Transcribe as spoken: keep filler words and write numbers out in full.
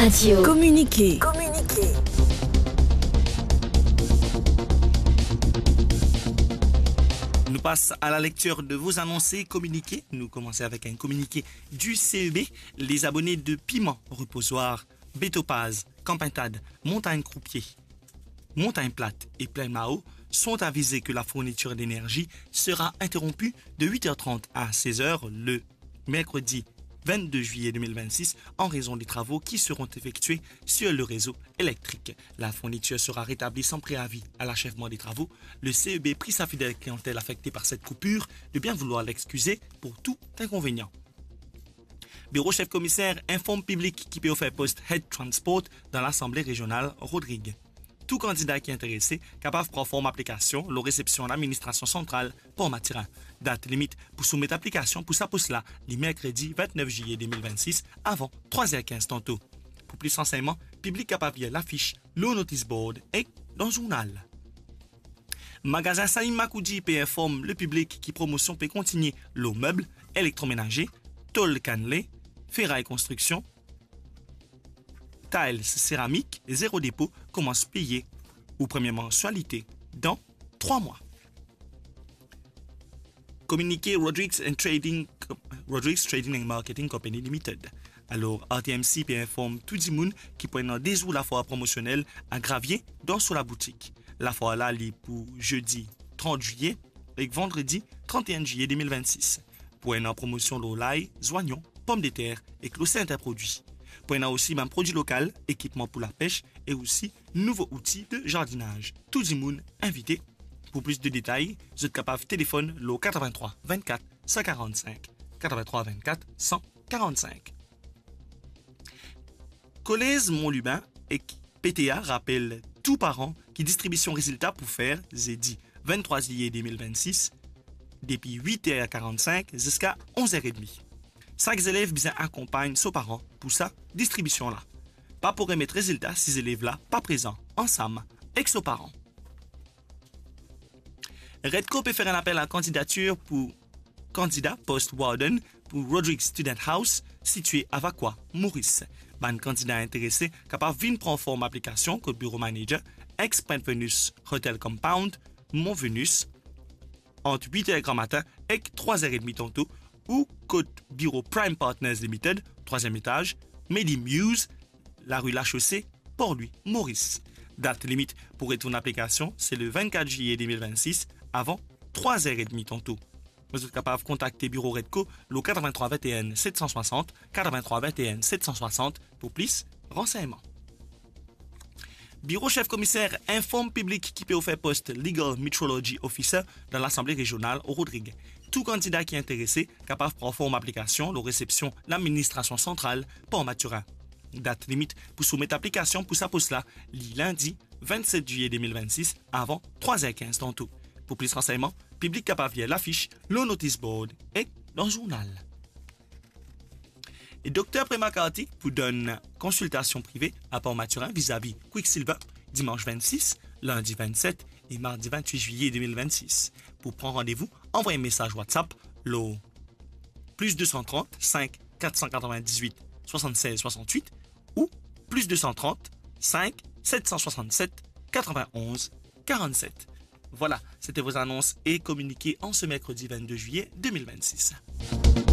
Radio. Communiqué. Communiqué. Nous passons à la lecture de vos annonces et communiqués. Nous commençons avec un communiqué du C E B. Les abonnés de Piment, Reposoir, Bétopaz, Camp Pintade, Montagne Croupier, Montagne Plate et Plaine Mao sont avisés que la fourniture d'énergie sera interrompue de huit heures trente à seize heures le mercredi vingt-deux juillet deux mille vingt-six en raison des travaux qui seront effectués sur le réseau électrique. La fourniture sera rétablie sans préavis à l'achèvement des travaux. Le C E B prie sa fidèle clientèle affectée par cette coupure de bien vouloir l'excuser pour tout inconvénient. Biro sef komiser inform piblik ki pe ofer post Head Transport dan Lasanble Rezional Rodrig. Tou kandida ki interese kapav pran form aplikasion lor resepsion Ladministrasion Santral Port Mathurin. Dat limit pou soumet aplikasion pou sa pos la, li merkredi vintnef ziye de mil vintsis, avan trwa zer kinz tanto. Pou plis ransegnman, piblik kapav lir lafis lor notis board ek dan zournal. Magazin Saïm Makoudi pe inform lepiblik ki promosion pe kontigne lor meb elektromenaze, tol kannle, feray konstriksion, tiles, seramik, zero depo, koumans peye ou premie mansialite dan trwa mwa. Kominike Rodrigues and Trading, Rodrigues Trading and Marketing Company Limited. Alor, R T M C pe inform tou dimoun ki pou ena de zour lafwar promosionel a Gravie dan so laboutik. Lafwar la, li pou zedi trant ziye ek vandredi trant e enn ziye de mil vintsis. Pou ena promosion lor lay, zwayon, pomdeter ek lor sertin prodwi. Pou ena osi bann prodwi lokal, ekipman pou lapes e osi nouvo outi de zardinaz. Tou dimoun invite. Pou plis de detay, zot kapav telefonn lor katrevin-trwa vinn-kat san karann-sink, katrevin-trwa vinn-kat san karann-sink. Kolez Mont Lubin ek P T A rapel tou paran ki distribision rezilta pou fer zedi vinn-trwa ziye de mil vintsis, depi wit er karann-sink ziska onz er edmi. Sak zelev bizin akonpagn so paran pou sa distribision la. Pa pou remet rezilta si zelev la pa prezan ansam ek so paran. Redco pe fer enn apel a kandidatir pou kandida post warden pou Rodrigues Student House, sitie Avakwa, Moris. Bann kandida interese kapav vinn pran form aplikasion kot biro manager, ex Pont Venus Hotel Compound, Mont Venus, ant wit er gramatin ek trwa er edmi tanto, ou kot biro Prime Partners Limited, trwaziem etaz, Medi Muse, lari Lashose, Port Louis, Moris. Dat limit pou retourn aplikasion, se le vinn-kat ziye de mil vintsis, avan trwa er edmi tanto. Zot kapav kontakte biro Redco lor katrevin-trwa vinn-e-enn set san swasant, katrevin-trwa vinn-e-enn set san swasant pou plis ransegnman. Biro sef komiser inform piblik ki pe ofer post Legal Metrology Officer dan Lasanble Rezional Rodrig. Tou kandida ki interese kapav pran form aplikasion lor resepsion Ladministrasion Santral Port Mathurin. Dat limit pou soumet aplikasion pou sa pos la, li lindi vinn-set ziye de mil vintsis, avan trwa er kinz tanto. Pou plis ransegnman, piblik kapav lir lafis lor notis board ek dan zournal. E Dokter Prema Kartik pou donn konsiltasion prive a Port Mathurin vizavi Quicksilver, dimans vinn-sis, lindi vinn-set e mardi vinn-wit ziye de mil vintsis. Pou pran randevou, anvway mesaz WhatsApp lor plis de san trant, sink, kat san katrovin-diz-wit, swasann-sez, swasann-wit ou plis de san trant, sink, set san swasann-set, katrovin-onz, karann-set. Voilà, c'était vos annonces et communiqués en ce mercredi vingt-deux juillet deux mille vingt-six.